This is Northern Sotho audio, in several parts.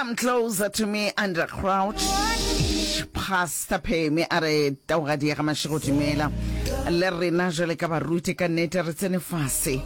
Come closer to me under crouch. Pastor Phemi a re taugadi ya ga Mashego dumela le rena jwale ka baruti ka nnete re tsene fase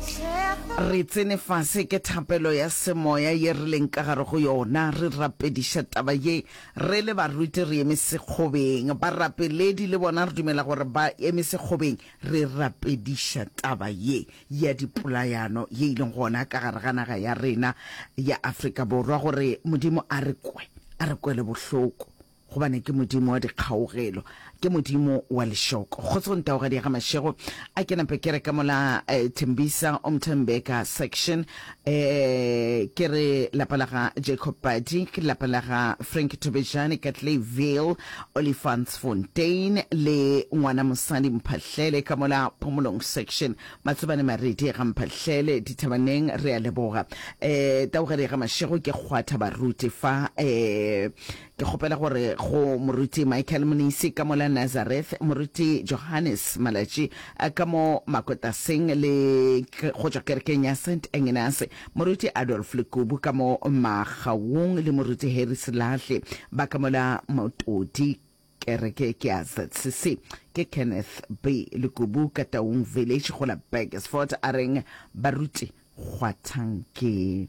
re tsene fase ke thapelo ya semoya ye re leng ka gare go yona re rapediša taba ye re le baruti re eme sekgobeng barapeledi le bona re dumela gore ba eme sekgobeng re rapediša taba ye ya dipolayano ye e leng gona ka gare ga naga ya rena ya Afrika Borwa, gore Modimo a re kwe, a re kwele bohloko, gobane ke Modimo wa dikgaugelo, ke Modimo wa lešoko. Kgotsong Taugadi ya ga Mashego, a ke nape ke re ka mola eh, Thembisa Umthembeka section, eh, ke re lapa la ga Jacob Padi, ke lapa la ga Frank Thobejane ka Clayville, Olifantsfontein le ngwana mosadi Mphahlele ka mola Phomolong section. Matsobane Maredi ga Mphahlele Dithabaneng re a leboga. Eh Taugadi ga Mashego ke kgwatha baruti fa eh ke kgopela gore go moruti Michael Monisi ka mola Nazareth, moruti Johannes Malatši ka mo Makotaseng le go tšwa kerekeng ya Saint Agnes, moruti Adolf Lekubu ka mo Magaung le moruti Harry Selahle ba ka mola Motodi. Kereke ke ya ZCC. Ke Kenneth B. Lekubu ka Taung Village go la Burgersfort a reng baruti kgwathang ke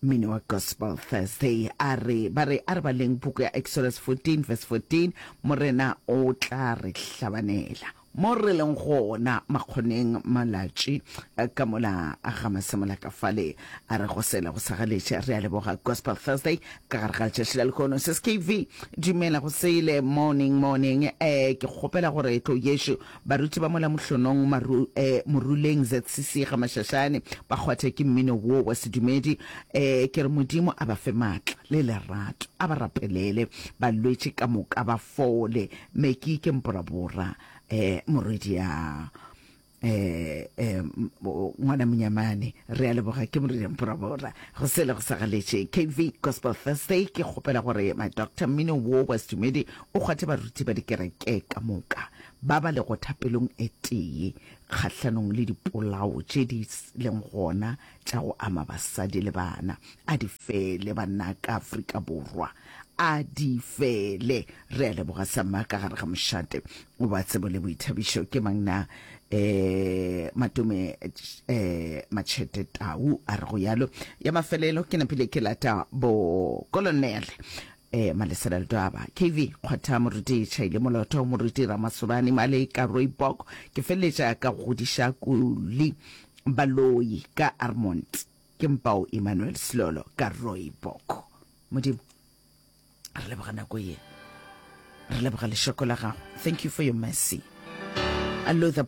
mmino wa Gospel Thursday. A re ba re a re baleng puku ya Exodus 14 verse 14 Morena o tla re hlabanela. Mo re leng gona makgoneng malatši ka mola ga Masemola ka fale, a re go sela go sa galetše. Re a leboga Gospel Thursday ka gare ga letšatši la lehono. Sis KV, dumela go sele. Morning, morning. Eh, ke kgopela gore tlo yešo baruti ba mola Mohlonong, Maru, eh, Moruleng ZCC ga Mašašane ba kgwathe ke mmino wo wa sedumedi. Eh, ke re Modimo a ba fe maatla le lerato, a ba rapelele balwetši ka moka ba fole. Meki ke mporabora eh morwedi ya eh eh ngwana monyamane re a leboga ke morwedi ya mporabora go sele go sa galetše KV Gospel Thursday ke kgopela gore my doctor mmino wo wa sedumedi o kgwathe baruti ba dikereke ka moka ba ba lego thapelong e tee kgahlanong le dipolao tše di leng gona tša go ama basadi le bana a di fele banna ka Afrika Borwa a di fele. Re a leboga Samma ka gare ga mošate wa tsebo le boithabišo. Ke mang na? Eh, Matome eh, Machete Tau a re go yalo. Ya mafelelo ke napile ke lata bo kolonele eh, Malesela Ledwaba, KV Kgwatha, Moruti Chaile Moloto, Moruti Ramasobane Maleka Rooibok. Ke feleletša ka go godiša Kuli Baloi ka Armont. Ke Mpao Emmanuel Selolo ka Rooibok. Modimo, re leboga nako ye. Re leboga lešoko la gago. Thank you for your mercy. Luther.